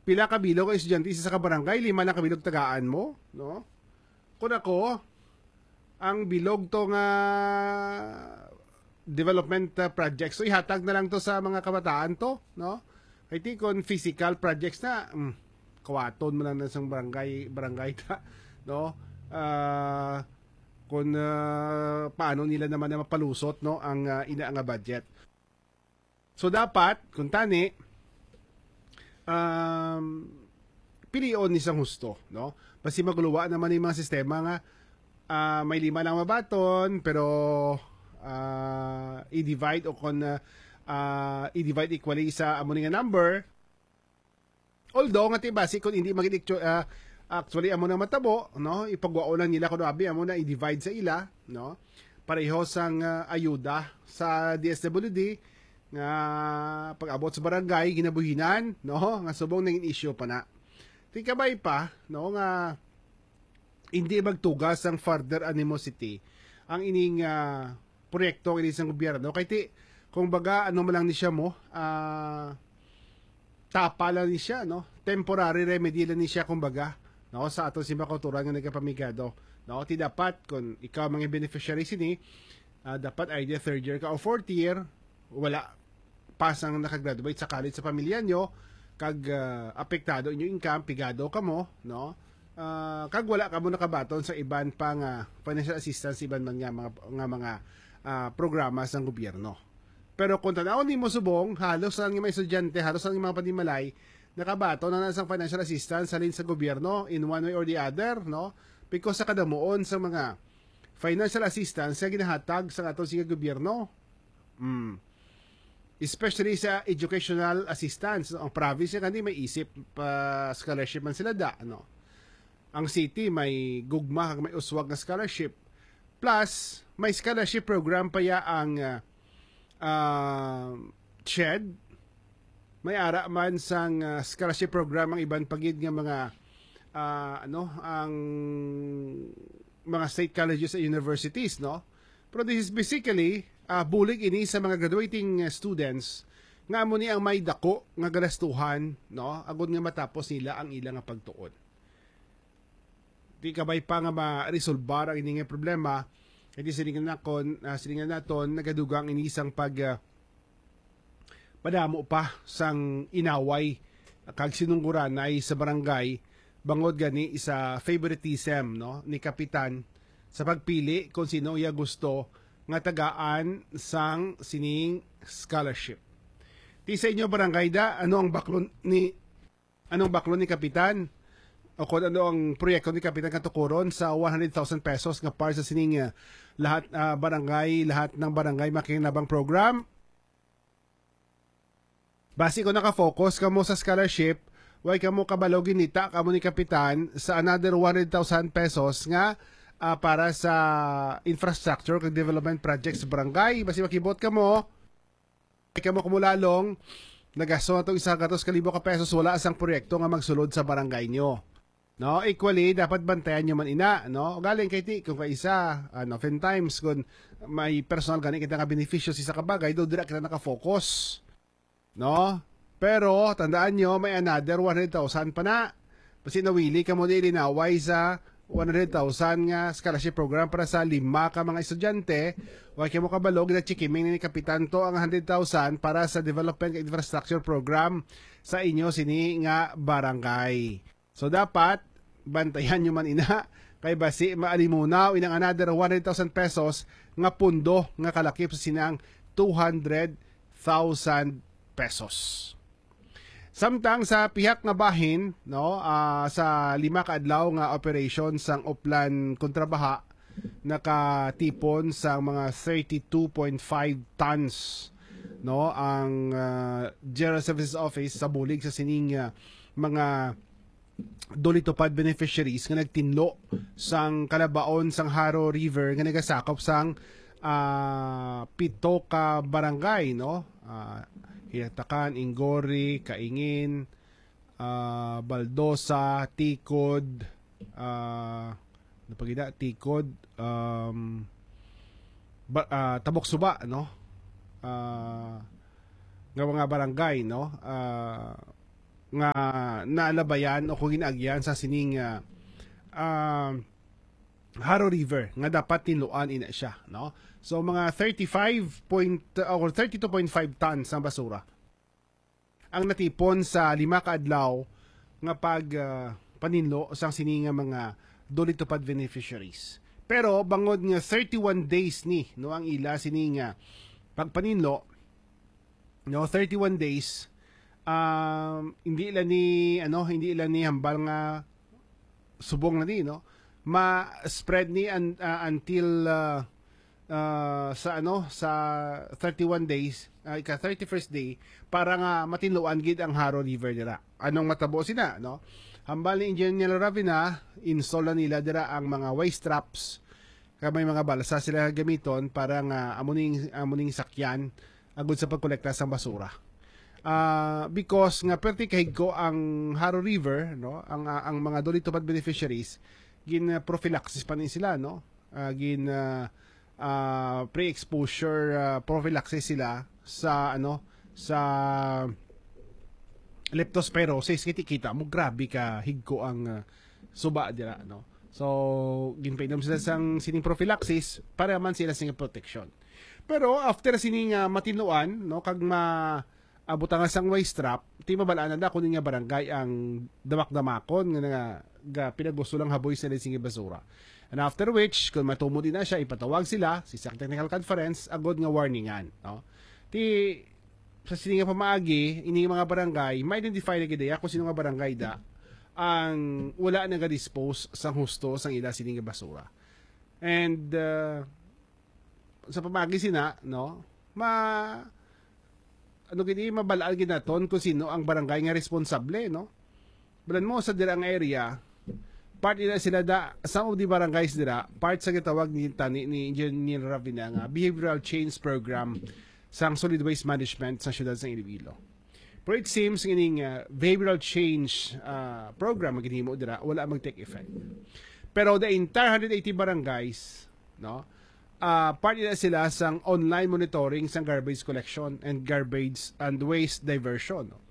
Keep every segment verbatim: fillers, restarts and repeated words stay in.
Pila ka bilog ang estudyante sa isa ka barangay? Lima lang ka bilog tagaan mo, no? Kung ako, ang bilog to nga development, uh, projects, so ihatag na lang to sa mga kabataan to, no? Kay ti kon physical projects na, mm, kawaton mo lang na sang barangay, barangay ta, no? Ah, kung, ah, paano nila naman na mapalusot, no, ang, ah, ina nga budget. So dapat, kung tani, um, pilion ni sang husto, no? Basi maguluwa naman yung mga sistema nga, ah, may lima lang mabaton, pero, ah, i-divide o kon, ah, ah, i-divide equally sa amo ni nga number. Although nga ti basi kung hindi magin actu-, ah, actually amo na matabo, no? Ipagwaon lang nila kung abi amo na i-divide sa ila, no? Pareho sang, ah, ayuda sa D S W D nga pag-abot sa barangay ginabuhinan, no? Nga subong naging issue pa na. Ti kabay pa, no, nga hindi magtugas ang further animosity ang ining, ah, proyekto ini sang gobyerno. Kay ti, kung baga, ano man lang ni siya mo, ah, tapa lang ni siya, no? Temporary remedy lang ni siya, kung baga, no? Sa aton simbahan kauturan nga nagapamigado, no? Ti dapat, kung ikaw mga beneficiary sini, ah, dapat either third year ka o fourth year, wala pa sang nakagraduate sa college sa pamilya nyo, kag, ah, apektado inyo income, pigado kamo, no? Ah, kag wala kamo nakabaton sa iban pa nga financial assistance, iban man nga mga, nga mga, ah, programa sang gobyerno. Pero kung tan-awon nimo subong, halos tanan nga mga estudyante, halos tanan nga mga panimalay, nakabaton na, na sang financial assistance halin sa gobyerno in one way or the other, no? Because sa kadamuon sa mga financial assistance nga ginahatag sa aton sing gobyerno. Mm. Especially sa educational assistance, no? Ang province nga gani may isip pa scholarship man sila da, no? Ang city may gugma kag may uswag nga scholarship. Plus, may scholarship program pa ya ang, ah, ah, CHED. May ara man sang, ah, scholarship program ang iban pa gid nga mga, ah, ano, ang mga state colleges and universities, no? Pero this is basically, ah, bulig ini sa mga graduating, ah, students nga amo ni ang may dako nga galastuhan, no? Agod nga matapos nila ang ila nga pagtuon. Di kabay pa nga maresolbar ang ini nga problema, kay di silingan nakon, ah, silingan naton, nagadugang ini sang pag, ah, padamo pa sang inaway kag sinungguranay sa barangay, bangod gani sa favoritism, no, ni Kapitan sa pagpili kung sino iya gusto nga tagaan sang sining scholarship. Ti sa inyo barangay da, ano ang baklon ni, anong baklon ni Kapitan? O kung ano ang proyekto ni Kapitan katukuron sa one hundred thousand pesos nga para sa sining, ah, lahat, ah, barangay, lahat ng barangay makinabang program? Basi kung naka-focus kamo sa scholarship, way kamo kabalo ginita kamo ni Kapitan sa another one hundred thousand pesos nga, ah, para sa infrastructure kag development projects sa barangay. Basi makibot kamo, way kamo kumulalong, nagasto na tong isa gatos ka libo ka pesos, wala sang proyekto nga magsulod sa barangay nyo. No, equally, dapat bantayan nyo man ina, no? Galing kay ti, kung kaisa, ano, oftentimes, kung may personal gani kita nga benepisyo sa isa ka bagay, do dira kita nakafocus, no? Pero, tandaan nyo, may another one hundred thousand pa na. Basi nawili kamo di linaway sa one hundred thousand nga scholarship program para sa lima ka mga estudyante. Wa kamo kabalo, ginachikiming ni Kapitan to ang hundred thousand para sa development infrastructure program sa inyo sini nga barangay. So dapat, bantayan nyo man ina, kay basi maalimunaw inang another one hundred thousand pesos nga pundo nga kalakip sa sinang two hundred thousand pesos. Samtang sa pihak nga bahin, no, ah, sa lima ka adlaw nga operation sang Oplan kontra baha, nakatipon sang mga thirty-two point five tons, no, ang, ah, General Services Office sa bulig sa sining, ah, mga DOLE TUPAD beneficiaries nga nagtinlo sang kalabaon sang Jaro River nga nagasakop sang, ah, pito ka barangay, no? Ah, Kinatakan, Inggori, Kaingin, ah, Baldosa, Ticod, ah, ano pa gid na? Ticod, um, ba-, ah, Tabok Suba, no? Ah, nga mga barangay, no? Ah, nga nalabayan o kung ginaagyan sa sining, ah, ah, Jaro River nga dapat tinluan ina siya, no? So, mga thirty-five point, uh, or thirty-two point five tons ang basura ang natipon sa lima ka adlaw nga pag, ah, paninlo sang sini nga mga DOLE TUPAD beneficiaries. Pero bangod nga thirty-one days ni, no, ang ila sini nga pagpaninlo, no, thirty-one days, um, hindi ila ni, ano, hindi ila ni hambal nga subong na ni, no? Ma-spread ni un-, ah, until, ah, ah, sa, ano, sa thirty-one days, ah, ika thirty-first day, para nga matinluan gid ang Jaro River dira. Anong matabo sina, no? Hambal ni Engineer Ravina, install na nila dira ang mga waste traps, kag may mga balsa sila gamiton para nga amo ning, amo ning sakyan agud sa pagkolekta sang basura. Ah, because nga perti kahigko ang Jaro River, no, ang, ah, ang mga DOLE TUPAD beneficiaries, gin, ah, prophylaxis pa ni sila, no? Ah, gin, ah, ah, pre-exposure, ah, prophylaxis sila sa, ano, sa leptospirosis. Kita, kita mo, grabe ka higko ang, ah, suba dira, no? So, ginpainom sila sang sining prophylaxis para man sila sing protection. Pero after sining, ah, matinluan, no, kag ma-, ah, butangan sang waste trap, ti mabalaan na da kung nga barangay ang damak-damakon nga, nga ga-, pinagusto lang haboy sila sing basura. And after which, kung matumod na siya, ipatawag sila sa isang technical conference agud nga warningan, no? Ti sa sini nga pamaagi, ini nga mga barangay, ma-identify na gid ya kung sino nga barangay da ang wala nagadispose sang husto sang ila sini nga basura. And, uh, sa pamaagi sina, no, ma-, ano gid, mabalaan gid naton kung sino ang barangay nga responsable, no? Balan mo sa dira nga area, part ina sila da, some of the barangays dira, part sa gitawag ni tani ni Engineer Ravina nga behavioral change program sang solid waste management sa siyudad sang Iloilo. Pero it seems nga ining, ah, behavioral change, ah, program nga ginhimo dira wala mag-take effect. Pero the entire hundred eighty barangays, no, ah, part ina sila sang online monitoring sang garbage collection and garbage and waste diversion, no?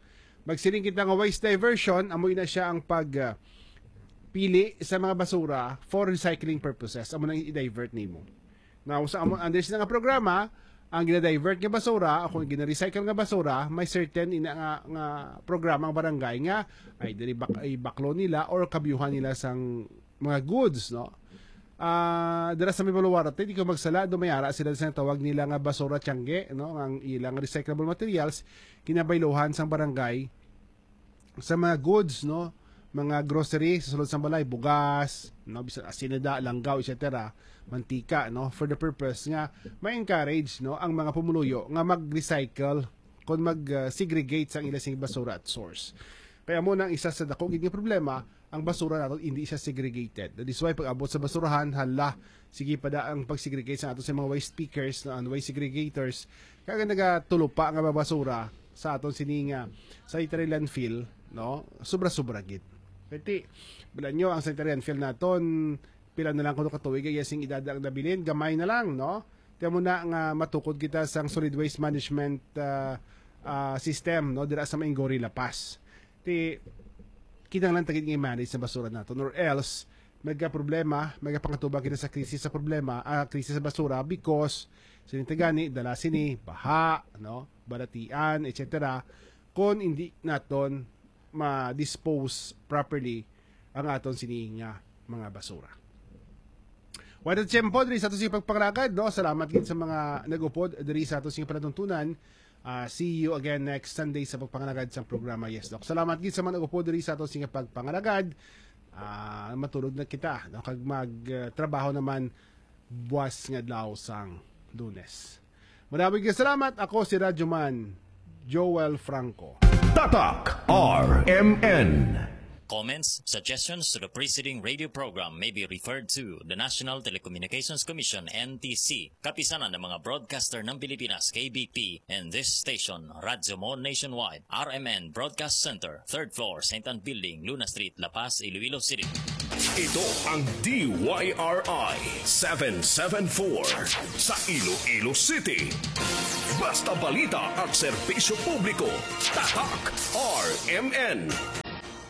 Magsiling kita nga waste diversion, amo ina siya ang pag, ah, pili sa mga basura for recycling purposes. Amo nang i-divert nimo. Now, sa amo, under sila nga programa, ang gina-divert nga basura, o kung gina-recycle nga basura, may certain ina nga, nga programa ang barangay nga ay diri bak-, ibaklo nila or kabyuhan nila sang mga goods, no? Ah, dira sa may Baluarte, di ko magsala, do may ara sila sa tawag nila nga basura tiangge, no? Ang ilang recyclable materials, kinabayluhan sang barangay sa mga goods, no? Mga grocery sa sulod sang balay, bugas, no? Bisan asinada, langgaw, et cetera, mantika, no? For the purpose nga ma-encourage, no, ang mga pumuluyo nga mag-recycle kung mag, uh, segregate sang ila sing basura at source. Kaya mo nang isa sa dako gid nga problema, ang basura naton hindi siya segregated. That is why pag-abot sa basurahan, hala, sige pa da ang pag-segregate sa ato sa mga waste pickers, no, ang waste segregators. Kaya nagatulupa nga mga basura sa aton sini nga sanitary landfill, no? Sobra-sobra gid. Kaya ti, bilan nyo, ang sanitary landfill naton, pila na lang kuno ka tuig ay sing edad ang nabilin, gamay na lang, no? Tiyan mo na nga matukod kita sang solid waste management, ah, ah, system, no, dira sa Mainggory, La Paz. Ti kinahanglan ta gid nga i-manage sa basura naton, or else may problema, may pangatubang kita sa krisis sa problema, ah, krisis sa basura because sini tagani dala sini baha, no, balatian, et cetera. Kon hindi naton ma-dispose properly ang aton sini nga mga basura. Wala tiyempo diri sa ato sing pagpangalagad, no? Salamat gid sa mga nag-upod diri sa ato sing palatuntunan. Ah, see you again next Sunday sa pagpangalagad sa programa. Yes, Doc. Salamat gid sa mga nag-upod diri sa ato sing pagpangalagad. Ah, matulog na kita, no? Kag mag, ah, trabaho naman buwas nga adlaw sang Lunes. Maraming salamat. Ako si Radyoman Joel Franco. Tatak R M N. Comments, suggestions to the preceding radio program may be referred to the National Telecommunications Commission, N T C, Kapisanan ng mga Broadcaster ng Pilipinas, K B P, and this station, Radyo Mo Nationwide, R M N Broadcast Center, third floor, Saint Ann Building, Luna Street, La Paz, Iloilo City. Ito ang D Y R I seven seven four sa Iloilo City. Basta balita at serbisyo publiko. Tatak R M N.